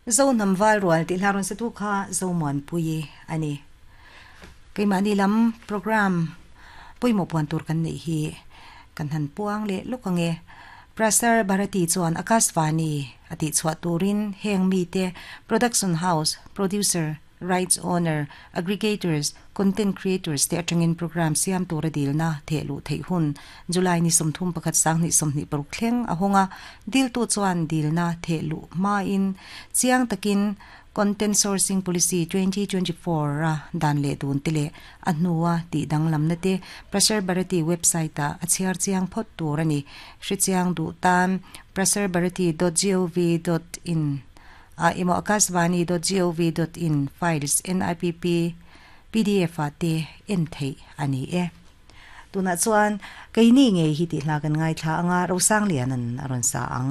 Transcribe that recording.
Zohnam val rual tih hla rawn satu kha Zomuanpuii a ni. Keimahni lam programme pawimawh puan tur kan neih hi kan han puang leh lawk ang e. Prasar Bharati chuan Akashvani a tihchhuah turin heng mite production house, producer, rights owner, aggregators, content creators te atangin programme siam tura dilna theh luh theih hun July ni 31 2026 thleng a hawng a, diltu chuan dilna theh luh hmain chiang takin Content Sourcing Policy 2024 a dan leh dun te leh a hnua tih danglamna te Prasar Bharati website ah a chhiar chiang phawt tur a ni. Hrechiang duh tan prasarbharati dot gov dot in ah emaw akashvani dot gov dot in files NIPP pdf ah te en theih a ni e. Tunah chuan keini ngei hi tih hla kan ngaithla anga Rosangliana'n a rawn sa ang.